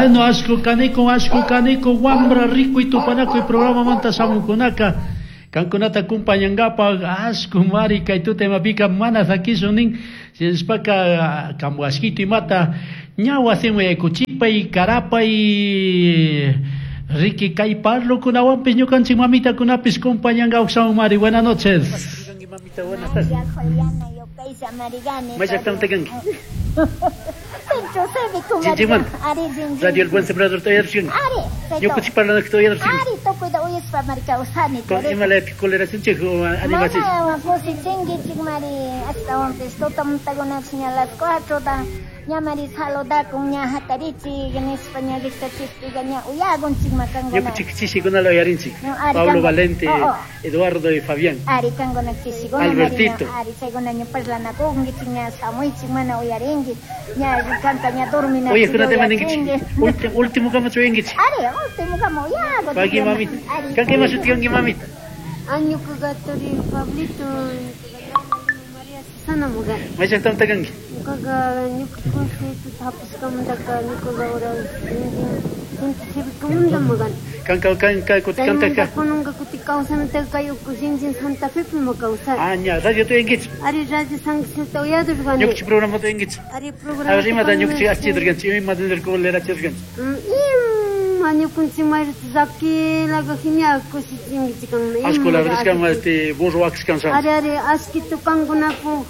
Bueno, ashku kaniku, ashku kaniku, wambra rikuy tupanakuy programamanta shamukunaka. Kankunata kumpañankapaq ashku mari kay tuta imapika mana sakishun nin. Shinashpaka kambu ashkitu imata ña wasiman yaykuchipay, karapay, riki kay parlokunawanpis ñukanchik mamitakunapis kumpañanka shamun mari. Buenas noches. Mamita, buenas tardes. María Juliana Yukaysa Marigani. May llaqtamanta kanki? Centro Cívico Chinchimanta. Ari Jinjin. Radio El Buen Sembrador todavía Ari. Ñukanchik parlanakta todavía Ari tukuyta uyashpa mari kawsani. Ima choleracinchik animachik. Mana kusichinkichik mari ashtawanpish tutamuntakunapish ña las 4 ta ña mari saludakun ña hatarichik nishpa ña rikchachikpica ña uyakunchik ma kankuna. Ñukanchik chishikunala uyarinchik. No, ari Pablo kanku- Valente, Oh, oh. Eduardo y Fabián. Ari kankuna chishikuna mari Albertito. ña ari chaykuna ña parlanakunkichik ña shamuychik mana uyarinki ña kanka ña dorminachik Oye, kunatema ninkichik. uyachinki. Último último kama chuyankichik. Ari último kama uyaku. Paqui mamita. Ari. Kanka ima shuti kanki mamita? Añukuqa turi Pablito, María Susana muga. May llaqtamanta kanki? Ñukaqa ñuka consejo hapishkamantaka ñukaqa ora centro cívicomanta mugani. Kanka kanka kuti Chaymanta kantaka. kunanka kuti kawsanataka kay uku Shinjin Santa Fepi ma kawsani. Ah, ña, radio tuyankichik. Ari radio San Jesús uyadurqani. Ñukanchik programa tuyankichik. Ari A programa. ver, imata ñukanchik achidurkanchik, imata nirkulerachiturkanchik. Ima ñukanchik mayrata llakilaqa genial kushichinkichik kanman. Ashku la verdad es que este burro axkan Ari ari ashkitu kankunapu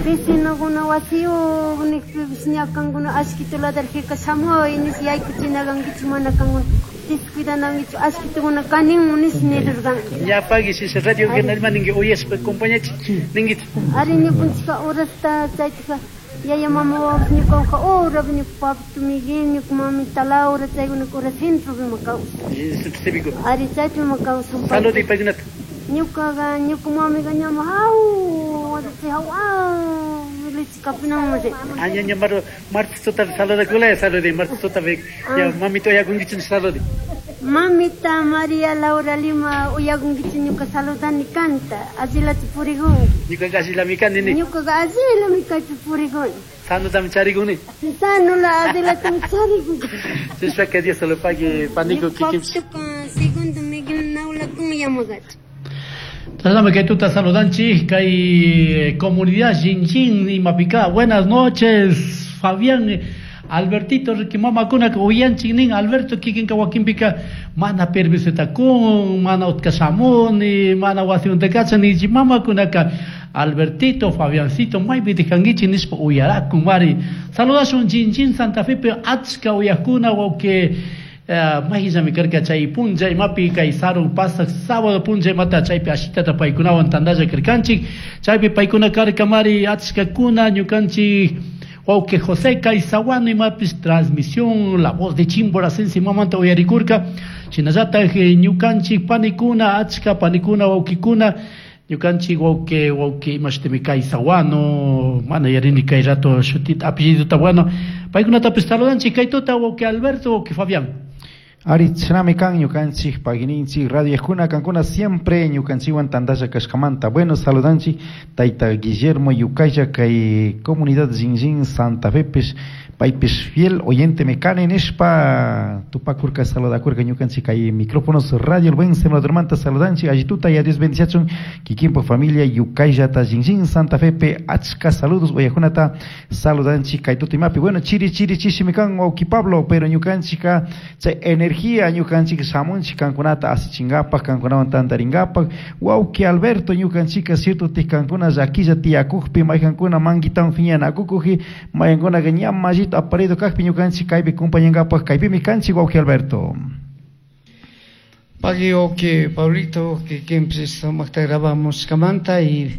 vecinokuna wasiyuq niqpipish ña kankuna ashkitu ladarjika shamuy nish yaykuchinakankichik mana kankuna descuidanankichik ashkitukuna kaninmu nish nirurqan. Ña pagui si radio que nalma ninki uyashpa compañachik ninkichik. Ari ñukanchikka horasta chaytika yaya mama wawapas ñukawanqa horapi ñuka papito Miguel ñuka mamita Laura chaykuna hora centropi ma kawsan. Centro cívico. Ari chaypi ma kawsan. Salud y paykunata. Ñukaqa ñuka mamiqa ñama haw chay haw leche kapinaman rin. Ah, ña ña maro martes tuta saludakulaya saludi martes tuta ya mamita uyakunkichik saludi. Mamita María Laura Lima uyakunkichik ñuka saludani kanta allillachu purikunki. Ñukaqa allillami kani ni. Ñukaqa allillami kaypi purikuni. Sanutami charikuni. Sanula allillatam charikuni. Chishpa que Dios se lo pague panico kikinpis. Ñuka segundo Miguel Naulakun yamagachu. Saludame que tuta saludanchik kay comunidad Xinxin imapika. Buenas noches, Fabián Albertito riki mamakuna uyanchik nin Alberto kikinka wakinpika mana permisota kun, mana utka shamuni, mana wasimunta kachan nichi mamakunaka Albertito, Fabiancito, maypi tikankichik nishpa uyarakun mari. Saludashun Xinxin Santa Fepi achka uyakuna wawqi mayllami karka chay punlla imapi kay sarun pasaq sábado punlla imata chaypi ashitata paykunawan tantalla karkanchik chaypi paykuna karka mari achkakuna ñukanchik wawqi José Caizahuano imapis transmisión La Voz de Chimboracense imamanta uyarikurka shinallataj ñukanchik panikuna achka panikuna wawqikuna ñukanchik wawqi wawqi imashtimi Caizahuano mana yarini kay rato shutita apellidota bueno paykunatapis saludanchik kay tuta wawqi Alberto wawqi Fabián. Ari chinami kan ñukanchik pagininchik radio yajuna kankuna siempre ñukanchikwan tantalla kashkamanta. Bueno, saludanchik tayta Guillermo Yucaya kay comunidad Xinxin Santa Fe pis paypis fiel oyente mekane nishpa tupakurka saludakurka ñukanchik kay micrófonos radio El Buen Sembradormanta saludanchik allituta y a Dios bendiciachun kikinpo familia Yucayata Xinxin Santa Fe pe achka saludos uyajunata saludanchik kay tuta imapi. Bueno, chiri chiri chishimi kan wawqi Pablo, pero ñukanchika chay energía ñukanchik shamunchik kankunata asichinkapak kankunawan tantarinkapak wawqi Alberto ñukanchika cierto tikankuna llakilla tiyakukpi maykankuna manguitawan phiñanakukuji maykankunaka ña mallito aparido kajpi ñukanchik kaypi compañankapak kaypimi kanchik wawqi Alberto. Pagui wawqi Pablito kikinpis sumaqta grabamusqamanta y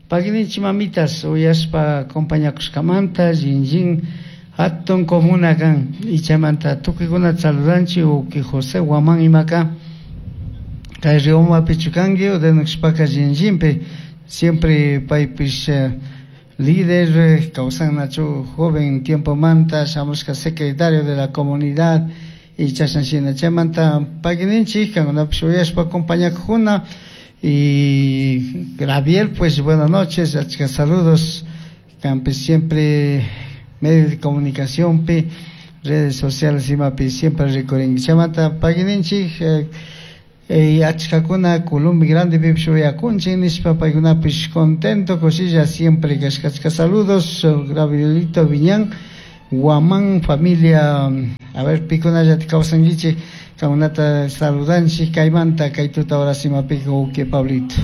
paguininchik mamitas uyashpa compañakushkamanta Xinxin hatun comuna kan y chaymanta tukuykuna saludanchik wawqi José Guamán imaka kay Riomapi chukanki udenushpaka Xinxinpi siempre paypis líder kawsannachu joven tiempomanta shamushka secretario de la comunidad y chashanshina chaymanta paguininchik kankunapish uyashpa acompañakujuna y Gabriel pues buenas noches achka saludos kanpis siempre medio de comunicación pi Redes sociales imapi siempre rikurinki. Chaymanta pagininchik achkakuna Colombia Grande pipish uyakunchik nishpa paykunapish contento kushilla siempre kashkachka. Saludos Gabrielito Viñán Guamán familia, a ver pikunallata kawsankichik, kankunata saludanchik kaymanta kay tuta horas imapika uke Pablito.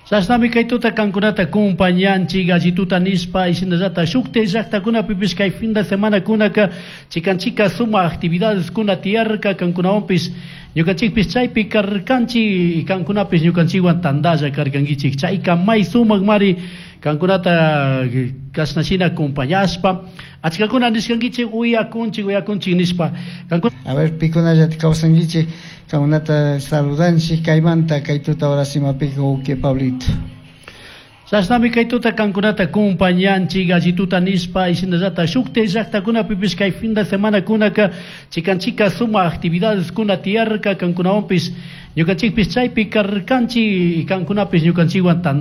Chashnami kay tuta kankunata acompañanchik allituta nishpa shinallata shukti llaqtakunapipish kay fin de semana kunaka chikanchika suma actividades kuna tiyarka kankunawanpish ñukanchikpish chaypi karkanchik kankunapish ñukanchikwan tandalla karkankichik chayka may sumak mari kankunata kashna shina acompañashpa achkakuna nishkankichik uyakunchik uyakunchik nishpa. A ver pikunallata kawsankichik, kankunata saludanchik kaymanta kay tuta horas imapika uke Pablito. Chashnami kay tuta kankunata acompañanchik allituta nishpa shinallata shukti llaqtakunapipish kay fin de semana kunaka chikanchika suma actividades kuna tiyarka kankunawanpish ñukanchikpish chaypi karkanchik kankunapish ñukanchikwan.